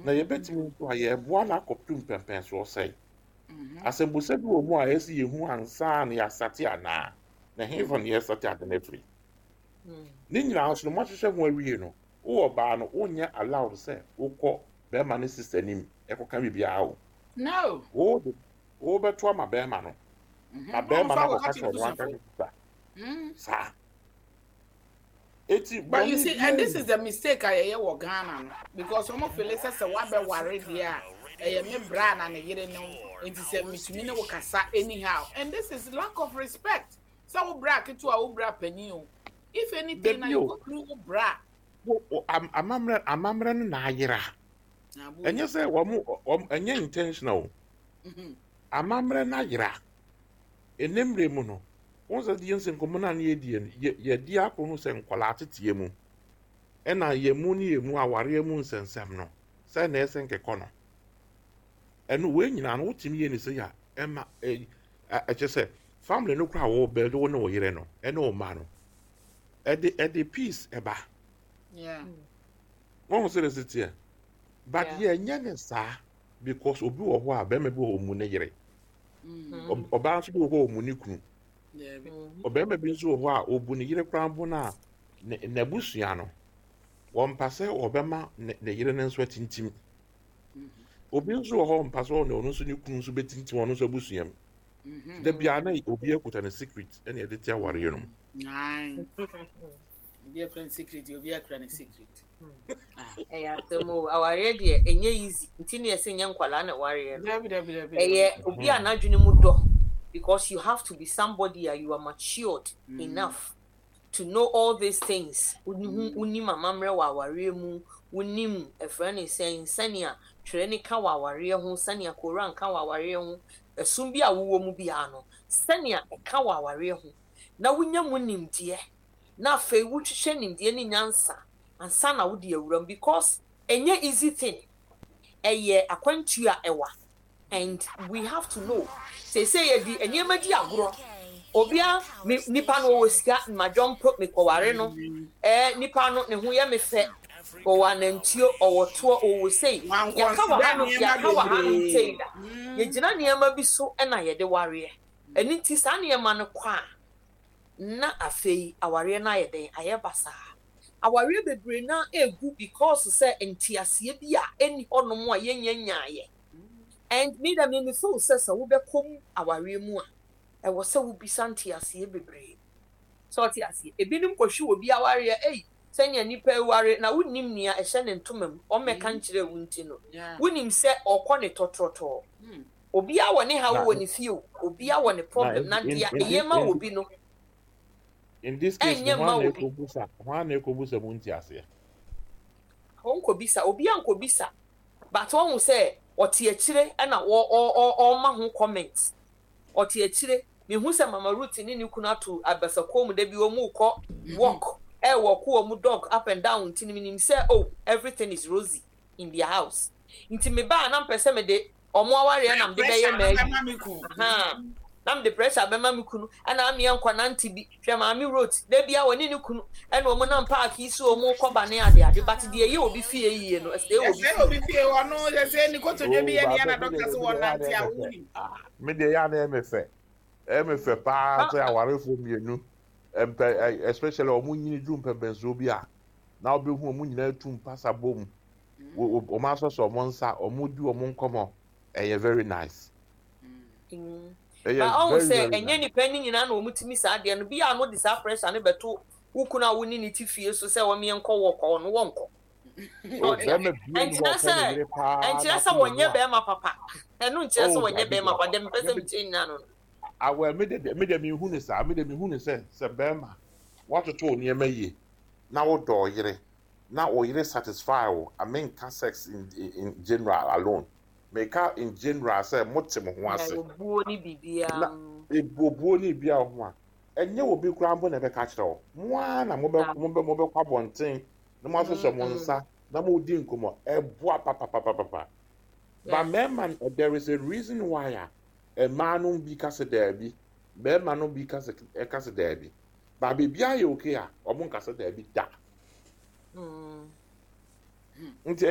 Na yɛbɛtumi nso a yɛboa no akɔpem mpɛmpɛnsoɔ sɛe. Asɛmbusa bi wɔ mu a ɛsɛ yɛhu ansa na yɛasate anaa, na hefa na yɛsate ade no afiri. Ne nyinaa nso no, moahyehyɛ ho awie no, wowɔ baa no, wonyɛ allowed sɛ wokɔ bɛrima ne sister nim ɛkɔka biribiara o. No. Wode wobɛto ama bɛrima no na bɛrima no akɔka kyerɛ ɔno anka ne sister saa. Eti But you see, and this is the mistake I hear wɔ Ghana no, because wɔn feel sɛ wabɛware deɛ a, ɛyɛ me bra na ne yere no, nti sɛ mitumi ne wo kasa anyhow, and this is lack of respect. Sɛ wo bra ketewa, wo bra panyin o. If anything, na you go through wo bra. Amammerɛ no na ayera. Ɛnyɛ sɛ wɔn ɛnyɛ intentional. Amammerɛ no ayera. Ɛnɛ mmerɛ mu no, wɔn sɛ deɛ nsɛ nkɔmmɔ no a ne yɛdie no, yɛdi akɔ ho sɛ nkwadaa teteɛ mu. Ɛna yɛn mu ne yɛn mu awareɛ mu nsɛnsɛm no, sɛ na ɛsɛ nkekɔ no. Ɛno wei nyinaa no, wotumi yɛ ne sɛ yɛ a, ɛma ɛkyɛ sɛ family no koraa wɔ bɛn wo ne wo yere no, ɛne wo mma no. Ɛde peace ɛba. Wɔn sɛ ɛsɛ teɛ. But yɛnyɛ ne saa because obi wɔ hɔ a bɛrima bi wɔ hɔ ɔmu ne yere. Ɔbaa nso bi wɔ hɔ a ɔmu ne kunu. Ɔbarima bi nso wɔ hɔ a ɔbu ne yere koraa mpo no a n'abusua no wɔmpa sɛ ɔbɛma ne yere no nso atintim. Obi nso wɔ hɔ ɔmpa sɛ ɔne ɔno nso ne kunu nso bɛtintim ɔno nso abusua mu. Da biara na obi akuta ne secret ɛna ɛde te awareɛ no mu. Obi akura ne secret, obi akura ne secret. Ɛyɛ asɛm o, awareɛ deɛ ɛnyɛ easy, nti ne yɛsɛ nyɛ nkwalaa na ɛwareɛ no. Ɛyɛ obi a n'adwene mu dɔ, because you have to be somebody a you are matured enough to know all these things. Wonim amammerɛ wɔ awareɛ mu, wonim ɛfrɛ ne sɛn, sɛnea twerɛ ne ka wɔ awareɛ ho, sɛnea Koran ka wɔ awareɛ ho, ɛsom bi a wowɔ mu biara no, sɛnea ɛka wɔ awareɛ ho, na wonya mu nimdeɛ, na afei wohwehwɛ nimdeɛ ne nyansa ansa na wode awura mu, because ɛnyɛ easy thing, ɛyɛ akwantuo a ɛwa, and we have to know seesei yɛde nneɛma di agorɔ. Obia me nipa no ɔwɔ sika, madwɔmpo mekɔware no, nipa no ne ho yɛ me fɛ, ɔwɔ anantuo, ɔwɔ toɔ, ɔwɔ sei, yɛaka wɔ hanom, yɛaka wɔ hanom sei da, yɛgyina nneɛma bi so na yɛde wareɛ. Ɛno nti saa nneɛma no kɔ a, na afei awareɛ no ayɛ dɛn? Ayɛ basaa. Awareɛ bebree na egu because sɛ nteaseɛ bi a ɛnni hɔnom a yɛnnya nyaeɛ. And me da me me feel sɛ wobɛkɔ mu awareɛ mu a, ɛwɔ sɛ wobisa nteaseɛ bebree. Sɛ ɔte aseɛ. Ebinom kɔhwe obi awareɛ, ei, sɛnea nipa aware na wonnim nea ɛhyɛ ne ntoma mu, ɔmmɛka nkyerɛ wo nti no, wonim sɛ ɔkɔ ne tɔtrɔtɔɔ. Obiara wɔ ne haw wɔ ne fie o, obiara wɔ ne problem, na deɛ ɛyɛ ma obi no, In this case, ɛnyɛ ma obi. Hwan na ɛkɔbusa mu nteaseɛ? Ɔnkɔbisa, obiara nkɔbisa, but ɔhu sɛ ɔte akyire ɛna ɔma ho comment. Ɔte akyire, mehu sɛ Mama Ruth ne ne kunu ato abasakɔn mu da bi wɔn rekɔ walk, ɛwɔko wɔn dog up and down, nti menim sɛ oh, everything is rosy in their house. Nti mebaa na mpɛ sɛ mede ɔmo awareɛ na mede bɛyɛ maayi, na mede pressure bɛma me kunu, ɛna ameɛ nkɔ nante bi hwɛ Maame Ruth da bia wɔne ne kunu ɛna ɔmo nam park yi so, ɔmo kɔ ba ne ade ade, but deɛ ɛyɛ obi fie yie no, ɛsɛ obi fie ɔno sɛ ne kotodwe bi yɛ nea na dɔkta sɛ wɔn nante a wɔn. Me deɛ, yɛ ana ɛyɛ me fɛ paa sɛ awarefoɔ mmienu mpɛ, especially ɔmo nyini duru mpɛmpɛnsoɔ bi a, na ɔbɛhu ɔmo nyinaa tu mpasa bom, ɔmo asɔsɔ ɔmo nsa, ɔmo di ɔmo nkɔmɔ, ɛyɛ very nice. Ɛyɛ ɔhu sɛ ɛnyɛ nipa ni nyinaa na wɔn tumi saa adeɛ no bi a no de saa pressure no bɛto wo kunu a wo ne ne ti fie so sɛ wɔn yɛn nkɔ wɔ kɔ no wɔn nkɔ. Ɛnkyerɛ sɛ wɔnyɛ bɛrima papa, ɛno nkyerɛ sɛ wɔnyɛ bɛrima papa dɛm pɛ sɛ mekyerɛ nyinaa no. Awɛ, me de mi hu ne saa, me de mi hu ne sɛ bɛrima watoto nneɛma yie na wodɔ yere na ɔyere satisfy wo, amenka sex in general alone, meka in general sɛ mote mo ho ase. Obuo ne biribiara. Na ebuobuo ne biribiara ho a, ɛnyɛ obi koraa mpo na ɛbɛka kyerɛ wo, mo ara na mobɛkɔ abɔnten na mo asosɔ mo nsa na mo di nkɔmɔ, ɛboa papapapapa. But mmarima, there is a reason why a mmaa no bi ka sɛ daabi, mmarima no bi ka sɛ ɛka sɛ daabi, but biribiara yɛ okay a, wɔn nka sɛ daabi da. Nti.